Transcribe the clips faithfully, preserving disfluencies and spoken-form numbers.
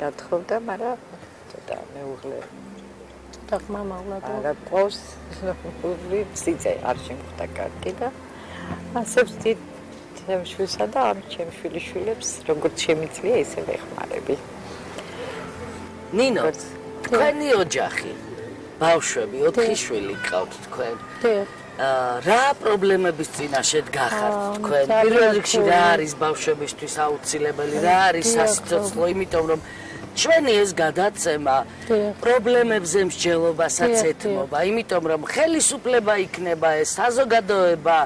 გათხოვდა, მაგრამ ცოტა მეუღლე ცოტა ხმა მაღლა არა ყავს, სიძე არ შემხვდა კარგი და ასე ვთქვით ჩემშვილსა და ამ ჩემშვილიშვილებს როგორც შემიძლია ესე ვეხმარები. ნინო, თქვენი ოჯახი, ბავშვები, ოთხი შვილი გყავთ თქვენ. რა პრობლემების წინაშე დგახართ თქვენ? პირველ რიგში რა არის ბავშვებისთვის აუცილებელი, რა არის სასიცოცხლო, იმიტომ რომ ჩვენი ეს გადაცემა პრობლემებზე მსჯელობასაც ეთმობა, იმიტომ რომ ხელისუფლება იქნება ეს საზოგადოება,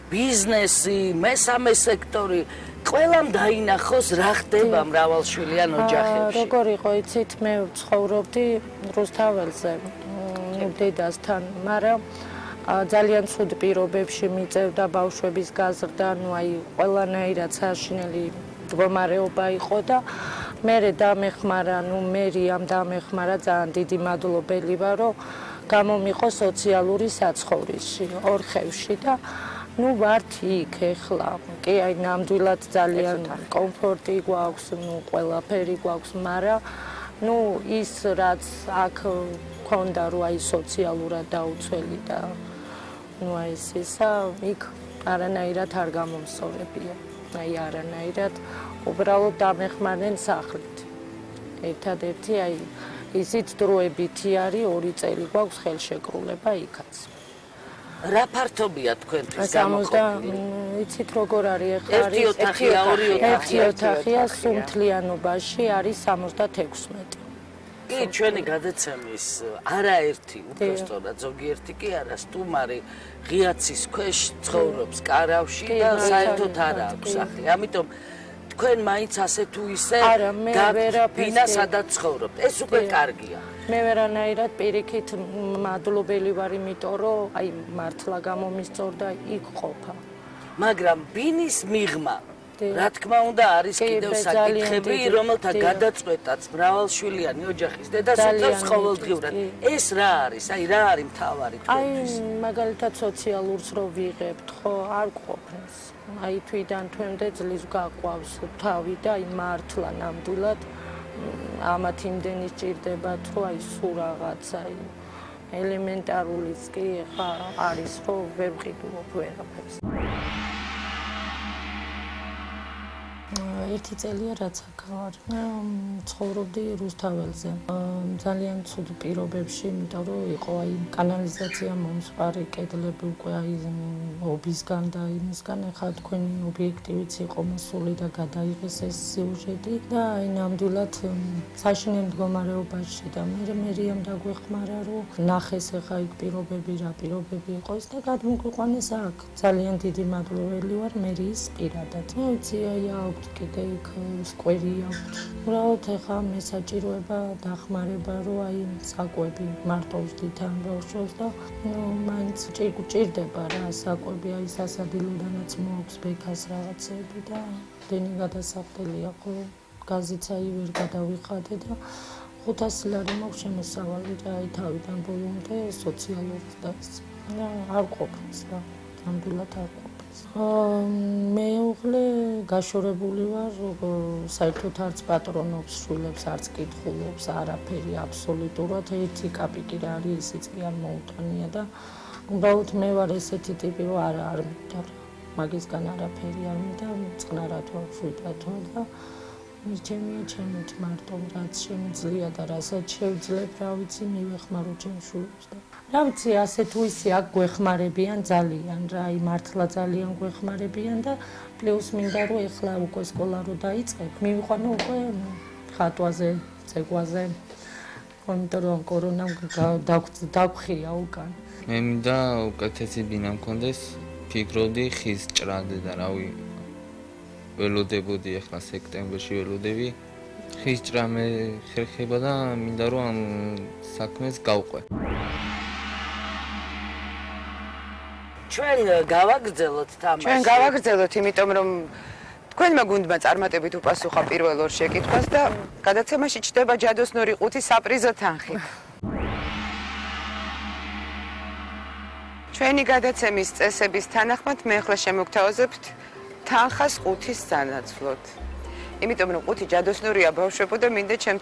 ბიზნესი, მესამე სექტორი, ყველამ დაინახოს რა ხდება მრავალშვილიან ოჯახებში. როგორ იყო იცით, მე ვცხოვრობდი რუსთაველზე, დედასთან, მაგრამ ძალიან ცუდ პირობებში მიწევდა ბავშვების გაზრდა, ნუ აი ყველანაირად საშინელი მდგომარეობა იყო და მერე დამეხმარა, ნუ მერიამ დამეხმარა, ძალიან დიდი მადლობელი ვარ, რომ გამომიყო სოციალური საცხოვრისი ორხევში და ნუ ვართ იქ ეხლა. კი, აი ნამდვილად ძალიან კომფორტი გვაქვს, ნუ ყველაფერი გვაქვს, მაგრამ ნუ ის რაც აქ მქონდა, რომ აი სოციალურად დაუცველი და ნუ აი ეს ისა იქ არანაირად არ გამომსწორებია. აი არანაირად უბრალოდ დამეხმარნენ სახლით. ერთადერთი აი ისიც დროებითი არის, ორი წელი გვაქვს ხელშეკრულება იქაც. რა ფართობია თქვენთვის გამოყოფილი? იცით როგორ არის ახლა ერთი ოთახია, ორი ოთახია. ერთი ოთახია სუმთლიანობაში არის სამოცდაექვსი მეტრი. კი, ჩვენი გადაცემის არაერთი, უბრალოდ ზოგიერთი კი არა, სტუმარი ღიაცის ქვეშ ცხოვრობს კარავში და საერთოდ არ აქვს სახლი. ამიტომ თქვენ მაინც ასე თუ ისე გაბინა სადაც ცხოვრობთ. ეს უკვე კარგია. მე ვერანაირად პირიქით მადლობელი ვარ, იმიტომ რომ აი მართლა გამომისწორდა იქ ყოფა. მაგრამ ბინის მიღმა რა თქმა უნდა არის კიდევ საკითხები, რომელთა გადაწყვეტაც მრავალშვილიანი ოჯახის დედას უწევს ყოველდღიურად. ეს რა არის? აი რა არის მთავარი თქვენთვის? აი მაგალითად სოციალურს რო ვიღებთ, ხო, არ ყოფნის. აი თვიდან თვემდე ძლივს გაყვავს თავი და აი მართლა ნამდვილად ამათ იმდენი სჭირდება, თუ აი სულ რაღაცა აი ელემენტარულიც კი ხა არის, ხო, ვერ ვყიდულობ ვერაფერს. ერთი წელია რაც აქ ვარ. მე ცხოვრობდი რუსთაველზე. ძალიან ცუდ პირობებში, იმიტომ რომ იყო აი კანალიზაცია მომსვარი, კედლები უკვე აი ობისგან და იმისგან, ახლა თქვენი ობიექტივიც იყო მოსული და გადაიღეს ეს სიუჟეტი და აი ნამდვილად საშინელ მდგომარეობაში და მე მერიამ დაგვეხმარა, რომ ნახეს ახლა იქ პირობები, რა პირობები იყო ის და გადმოგვიყვანეს აქ. ძალიან დიდი მადლობელი ვარ მერიის პირადად. მე ვიცი აი აქვთ კიდე იქ სკვერი აქვთ. უბრალოდ ახლა მე საჭიროება დახმარება, რომ აი საკვები მარტო ვსდით ამ ბავშვებს და მაინც ჭირდება რა საკვები, აი სასადილოდანაც მოაქვს ბექას რაღაცები და დენი გადასახდელია, ხო გაზიც აი ვერ გადავიხადე და ხუთასი ლარი მაქვს შემოსავალი და აი თავიდან ბოლომდე სოციალურს და არ ყოფნის რა, ნამდვილად არ ყოფნის. მეუღლე გაშორებული ვარ, საერთოდ არც პატრონობს შვილებს, არც კითხულობს, არაფერი აბსოლუტურად. ერთი კაპიკი რა არის, ისიც კი არ მოუტანია და უბრალოდ მე ვარ ესეთი ტიპი, რომ არა არ მინდა. მაგისგან არაფერი არ მინდა, წყნარად ვარ, შვიდად ვარ და მირჩენია ჩემით მარტო რაც შემიძლია და რასაც შევძლებ, რა ვიცი, მივეხმარო ჩემ შვილებს და რა ვიცი, ასე თუ ისე აქ გვეხმარებიან ძალიან რა, აი მართლა ძალიან გვეხმარებიან და პლუს მინდა რომ ეხლა უკვე სკოლა რო დაიწყებ, მივიყვანო უკვე ხატვაზე, ცეკვაზე, იმიტომ რომ კორონამ დაგვხია უკან. მე მინდა უკეთესი ბინა მქონდეს, ფიქრობდი ხის ჭრადე და რავი ველოდებოდი, ახლა სექტემბერში ველოდები. ხის ჭრა მე ხერხება და მინდა რომ ამ საქმეს გავყვე. ჩვენ გავაგრძელოთ თამაში. ჩვენ გავაგრძელოთ, იმიტომ რომ თქვენმა გუნდმა წარმატებით უპასუხა პირველ ორ შეკითხვას და გადაცემაში ჩდება ჯადოსნური ყუთი საპრიზო თანხით. ჩვენი გადაცემის წესების თანახმად მე ახლა შემოგთავაზებთ თანხას ყუთის სანაცვლოდ. იმიტომ რომ ყუთი ჯადოსნურია ბავშვებო და მინდა ჩემ